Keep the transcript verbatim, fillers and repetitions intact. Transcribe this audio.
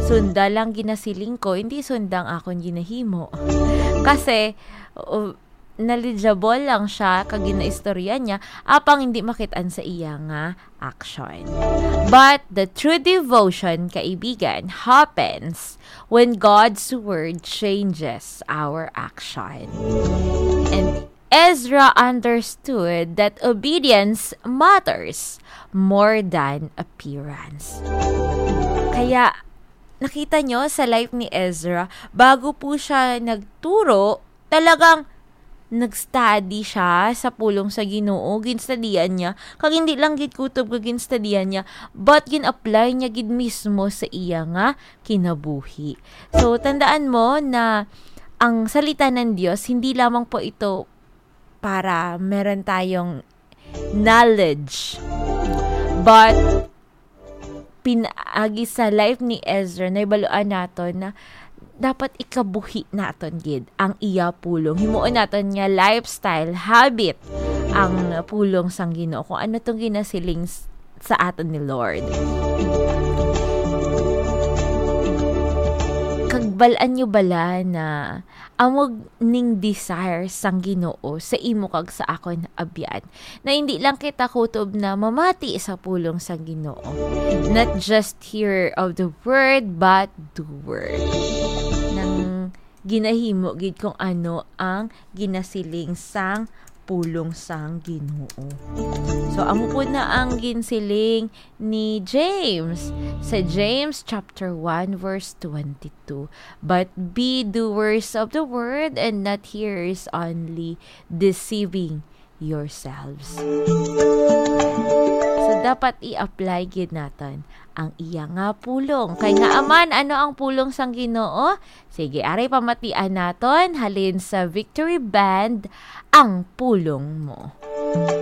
Sunda lang ginasiling ko, hindi sunda ang akon ginahimo. Kasi, uh, knowledgeable lang siya, kag ginaistorya niya, apang hindi makit-an sa iya nga action. But the true devotion, kaibigan, happens when God's word changes our action. And Ezra understood that obedience matters more than appearance. Kaya, nakita nyo sa life ni Ezra, bago po siya nagturo, talagang nag-study siya sa pulong sa Ginoo, ginstudian niya, kag hindi lang gid kutob nga ginstudian niya, but gin-apply niya gid mismo sa iya nga kinabuhi. So, tandaan mo na ang salita ng Diyos, hindi lamang po ito para meron tayong knowledge, but pinaagi sa life ni Ezra, nahibaluan naton na dapat ikabuhi naton gid ang iya pulong. Himuon naton nga lifestyle, habit, ang pulong sang Ginoo. Kung ano tong ginasiling s-, sa aton ni Lord. Kag bal-an nyo bala na amo ning desire sang Ginoo sa imo kag sa akon, abyan, na hindi lang kita kutob na mamati sa pulong sang Ginoo. Not just hear of the word, but doer. Nang ginahimo gid kung ano ang ginasiling sang pulong sang Ginoo. So, amo po na ang ginsiling ni James sa James chapter one verse twenty-two. "But be doers of the word and not hearers only, deceiving yourselves." So, dapat i-apply gid naton ang iya nga pulong. Kay nga aman, ano ang pulong sang Ginoo? Sige, aray pamatian naton halin sa Victory Band, Ang Pulong Mo.